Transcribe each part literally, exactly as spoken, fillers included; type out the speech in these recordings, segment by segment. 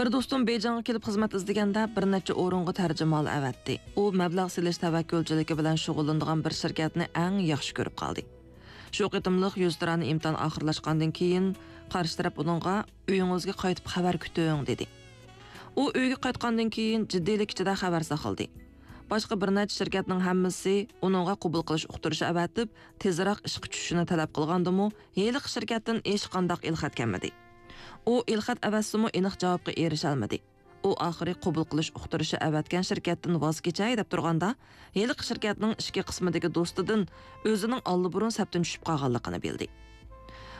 بىر دوستۇم بېيجىڭغا كېلىپ خىزمەت ئىزدىگەندە، بىر نەچچە ئورۇنغا تەرجىمىھال ئەۋەتتى. ئۇ مەبلەغ سېلىش تەۋەككۈلچىلىكى بىلەن شۇغۇللىنىدىغان بىر شىركەتنى ئەڭ ياخشى كۆرۈپ قالدى. شۇ قېتىملىق يۈزتۇرانە ئىمتىھان ئاخىرلاشقاندىن كېيىن، قارشى تەرەپ ئۇنىڭغا «ئۆيىڭىزگە قايتىپ خەۋەر كۈتۈڭ» دېدى. ئۇ ئۆيگە قايتقاندىن كېيىن جىددىيلىك ئىچىدە خەۋەر ساقلىدى. باشقا بىر نەچچە شىركەتنىڭ ھەممىسى ئۇنىڭغا قوبۇل قىلىش ئۇقتۇرۇشى ئەۋەتىپ، تېزراق ئىشقا چۈشۈشىنى تەلەپ قىلغاندىمۇ، ھېلىقى شىركەتتىن ھېچقانداق ئېلخەت كەلمىدى. ئۇ ئېلخەت ئەۋەتسىمۇ، ئېنىق جاۋابقا ئېرىشەلمىدى. ئۇ ئاخىرى قوبۇل قىلىش ئۇقتۇرۇشى ئەۋەتكەن شىركەتتىن ۋاز كېچەي دەپ تۇرغاندا، ھېلىقى شىركەتنىڭ ئىچكى قىسمىدىكى دوستىدىن ئۆزىنىڭ ئاللىبۇرۇن سەپتىن چۈشۈپ قالغانلىقىنى بىلدى.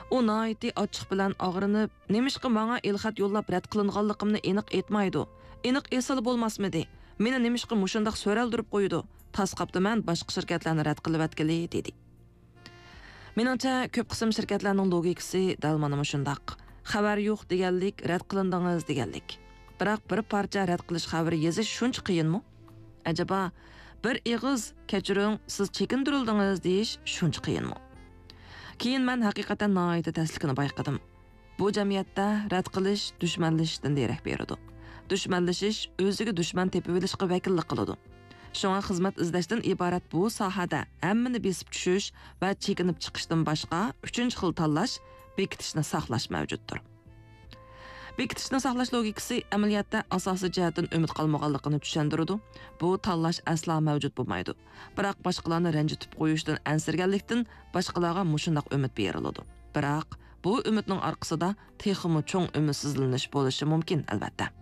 ئۇ ناھايىتى ئاچچىق بىلەن ئاغرىنىپ، «نېمىشقا ماڭا ئېلخەت يوللاپ رەت قىلىنغانلىقىمنى ئېنىق ئېيتمايدۇ؟ ئېنىق ئېيتسىلا بولماسمىدى؟ مېنى نېمىشقا مۇشۇنداق سۆرەلدۈرۈپ قويىدۇ؟ تاس قاپتىمەن، باشقا شىركەتلەرنى رەت قىلىۋەتكىلى» دېدى. مېنىڭچە، كۆپ قىسىم شىركەتلەرنىڭ لوگىكىسى دەل مانا مۇشۇنداق. خەۋەر يوق دېگەنلىك، رەت قىلىندىڭىز دېگەنلىك. بىراق، بىر پارچە رەت قىلىش خەۋىرى يېزىش شۇنچە قىيىنمۇ؟ ئەجەبا، بىر ئېغىز «كەچۈرۈڭ، سىز چېكىندۈرۈلدىڭىز» دېيىش شۇنچە قىيىنمۇ؟ كېيىن مەن ھەقىقەتەن ناھايىتى تەسلىكىنى بايقىدىم. بۇ جەمئىيەتتە رەت قىلىش دۈشمەنلىشىشتىن دېرەك بېرىدۇ. دۈشمەنلىشىش ئۆزىگە دۈشمەن تېپىۋېلىشقا ۋەكىللىك قىلىدۇ. شۇڭا خىزمەت ئىزدەشتىن ئىبارەت بۇ ساھەدە ھەممىنى بېسىپ چۈشۈش ۋە چېكىنىپ چىقىشتىن باشقا ئۈچىنچى خىل تاللاش، بېكىتىشنى ساقلاش مەۋجۇتتۇر. بېكىتىشنى ساقلاش لوگىكىسى ئەمەلىيەتتە ئاساسىي جەھەتتىن ئۈمىد قالمىغانلىقىنى چۈشەندۈرىدۇ. بۇ تاللاش ئەسلا مەۋجۇت بولمايدۇ. بىراق باشقىلارنى رەنجىتىپ قويۇشتىن ئەنسىرىگەنلىكتىن باشقىلارغا مۇشۇنداق ئۈمىد بېرىلىدۇ. بىراق بۇ ئۈمىدنىڭ ئارقىسىدا تېخىمۇ چوڭ ئۈمىدسىزلىنىش بولۇشى مۇمكىن، ئەلۋەتتە.